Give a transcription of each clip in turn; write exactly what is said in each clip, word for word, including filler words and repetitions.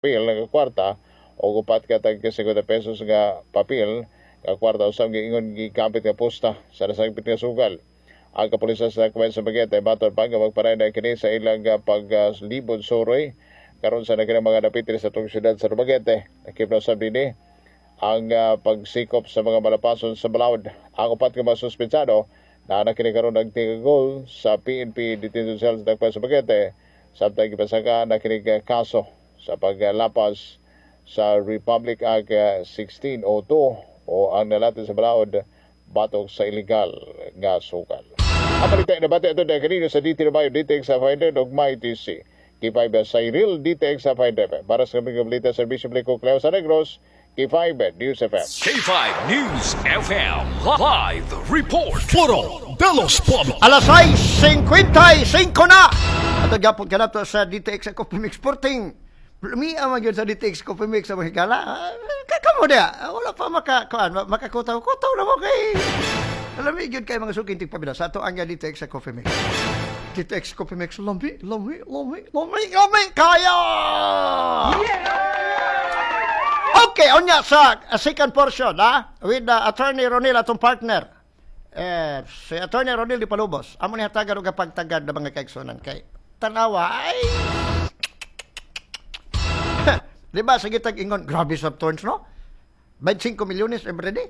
Papel nga kwarta o upat ka tag singkwenta pesos nga papel nga kwarta usab giingon gigamit nga pusta sa nasagpit nga sugal. Ang kapulisan sa Dakbayan sa Dumaguete matod pa nga magpadayon na kini sa ilang paglibod suroy karon sa naging mga dapit sa atong syudad sa Dumaguete. Nakip na usab dinhi ang uh, pagsikop sa mga malapason sa balaod. Ang upat ka mga suspensado na kini karon nagtigagol sa P N P detention cell sa Dakbayan sa Dumaguete samtang gipasaka na kini kaso sa paglapas sa Republic Act sixteen oh two o ang nalati sa balaod batok sa illegal nga sugal. Ang balita nabati ito na kanino sa D T Bayo, D T X five hundred ug My T C. K five Cyril, D T X five hundred. Para sa kaming balita, serbisyo publiko, Cleo sa Negros, K five News F M. K five News F M Live Report. Foro de los Pueblos. Alas sais singkwenta y singko na! Ato gapon ka na to sa D T X Coffee Mix Sporting. Lumi ang magyud sa D T X Coffee Mix sa mga higala. Ah, Kamo dia, wala pa maka kuan, makakutaw kutaw na mo kay lami gyud kay mga suking tigpabila sa ato ang D T X Coffee Mix. D T X Coffee Mix, lami, lami, lami, lami, lami kaya. Okay, unya sa uh, second portion, ha? With uh, Attorney Ronil, atong partner. Eh, si Attorney Ronil Di Palubos. Amo ni hatagan og pagtagad na mga kaigsunan kay tanawa ay. Di ba sige tag ingon, grabe sa turns, no? twenty-five milyones every day.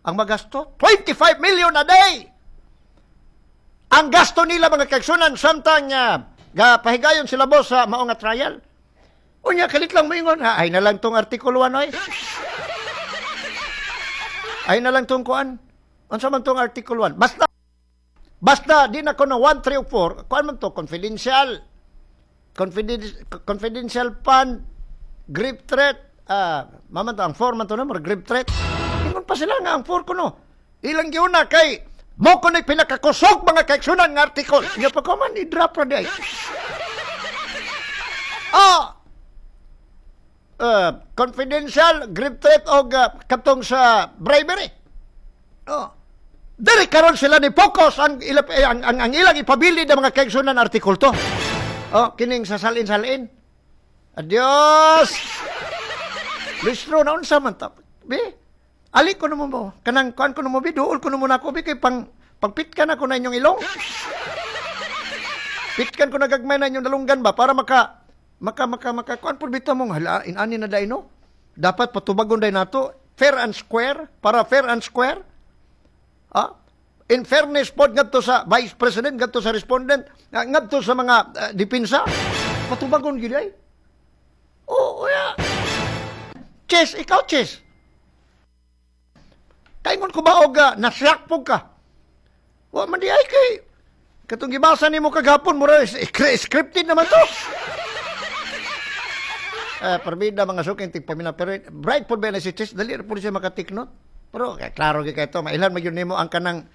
Ang magasto, twenty-five million a day. Ang gasto nila, mga kaigsunan, samtang uh, ga pahigayon sila boss sa mao nga trial. Unya kalit lang moingon, ha, ay na lang tong artikulo one oy. Ay na lang tong kuan. Unsa man tong article one? Basta basta di na ko na one, three, four, kuan man to, confidential. Confidential confidential fund, grave threat, ah, maman to, ang four man to na, murag grave threat. Ingon pa sila nga ang four ko no. Ilang giuna kay mo ko ni pinakakusog, mga kaigsunan, nga article. Nga pa ko man i-drop ra di ay. Ah, uh, confidential, grave threat og uh, katong sa bribery. Oh. Diri karon sila ni focus ang, ila, eh, ang, ang, ang ilang ipabili ng mga kaigsunan, article to. Oh, kining sa salin-salin. Adios. Lustro na unsa man ta. Be. Ali ko na mo mo. Kanang kuan ko na mo be, duol ko na mo nako be kay pang pagpitkan ako na inyong ilong. Pitkan ko na gagmay na inyong dalunggan ba para maka maka maka maka kuan pud bitaw mong hala inani na day no. Dapat patubagon day nato fair and square, para fair and square. Ah? In fairness pod ngadto sa Vice President, ngadto sa respondent, ah, ngadto sa mga uh, depensa, patubagon gyud ay. Oo, ya. Chess, ikaw Chess. Kaingon ko ba og uh, nasyak po ka? Wa man di ay kay katong gibasa nimo kagapon mura scripted naman to. Eh, parbida mga suking tigpamina, pero bright pod ba na si Chess, dali ra pod siya maka-take note. Pero kay klaro gyud kay to, mailan man gyud nimo ang kanang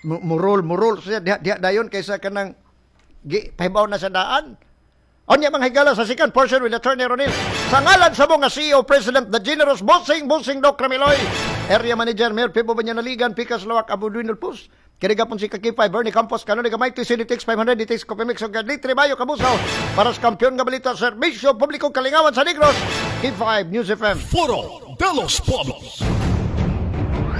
mu- murol murol siya diha, diha dayon kaysa kanang gi pahibaw na sa daan. Unya mga higala, sa second portion with Attorney Ronil. Sa ngalan sa mga C E O President, the Generous Bossing Bossing Doc Ramiloy, Area Manager Mayor Pibo Banyanaligan, Pikas Lawak Abu Duinul Pus. Kini gapon si Kakipay, Bernie Campos, Kanoni Gamay, C D T X five hundred, D T X Coffee Mix, ug Litri Bayo Kabusaw, para sa kampiyon nga balita, serbisyo publiko, kalingawan sa Negros, K five News F M. Foro de los Pueblos.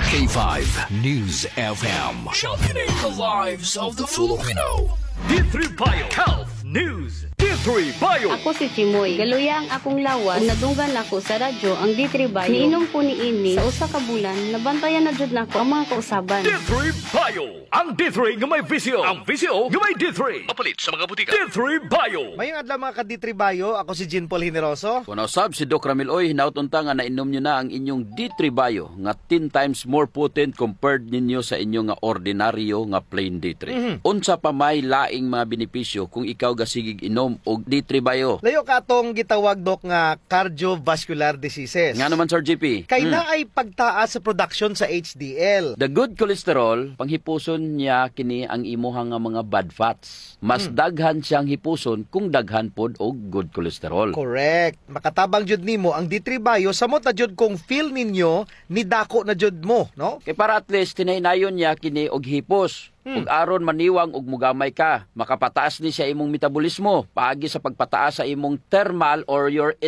K five News F M. Championing the lives of the Filipino. D three Bio Health News. D three Bio. Ako si Chimoy. Galuya ang akong lawas. Ug nadunggan nako sa radyo ang D three Bio. Niinom ko ni ini sa usa ka bulan, nabantayan na jud nako ang mga kausaban. D three Bio. Ang D three nga may V C O. Ang V C O nga may D three. Mapalit sa mga butika. D three Bio. Mayong adlaw mga ka-D three Bio, ako si Jean Paul Generoso. Kung usab si Doc Ramil Oy, hinaut unta nga nainom nyo na ang inyong D three Bio nga ten times more potent compared ninyo sa inyong nga ordinaryo nga plain D three. Unsa pa may laing mga benepisyo kung ikaw gasigig inom og D three Bio? Layo ka atong gitawag, Dok, nga cardiovascular diseases. Nga naman, Sir J P. Kay Mm. na ay pagtaas sa production sa H D L. The good cholesterol, panghipuson niya kini ang imuha nga mga bad fats. Mas daghan siyang hipuson kung daghan pod og good cholesterol. Correct. Makatabang jud nimo ang D three Bio samot na jud kung feel ninyo ni dako na jud mo, no? Kay para at least tinahinayon niya kini og hipos. Ug aron maniwang ug mugamay ka, makapataas ni siya imong metabolismo paagi sa pagpataas sa imong thermal or your